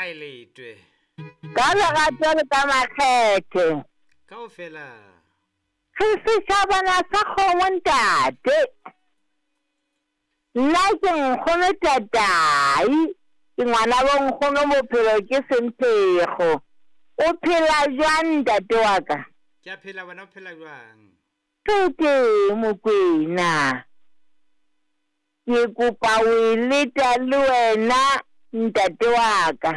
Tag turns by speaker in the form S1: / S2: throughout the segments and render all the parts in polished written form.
S1: Hae letwe.
S2: Ka lerato le ka makgethe.
S1: Kaofela.
S2: Re setjhabana sa kgomo ntate. Nna ke nkgono tatai, ke ngwana bo nkgono bophelo ke semphego. O phela jwang ntate wa ka?
S1: Ke a phela wena o phela jwang?
S2: Ke teng Mokwena. Ke kopa ho e leta le wena ntate wa ka.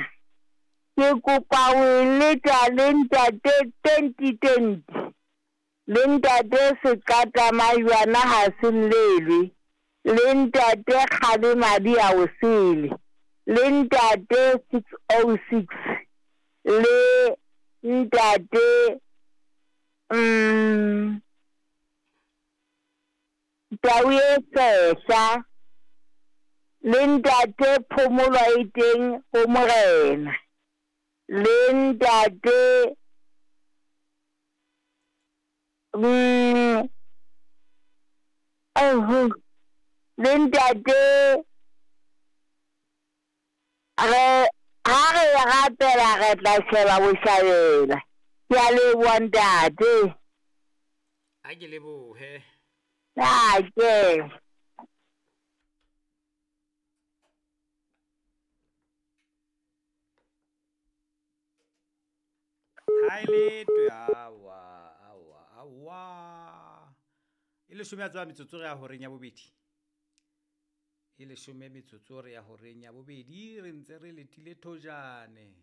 S2: Ke kopa ho e leta le ntate 2020. Le ntate Seqata Majwana ha se llelwe. Le ntate Kgale Madi a o sele. Le ntate 606. Le ntate Tau e Sehla. Le ntate Phomolo e teng ho Morena. Le ntate le ntate re ha re rapela re tla sheba boshabela. Ke a leboha ntate.
S1: A ke lebohe.
S2: Ake.
S1: Hae letwe awa awa awa. E leshome ya tswa metsotso re ya horeng ya bobedi. E leshome metsotso re ya horeng ya bobedi re ntse re letile thojane.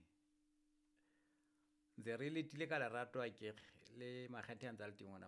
S1: Ntse re letile ka lerato akere le makgethe a ntse a le teng ona.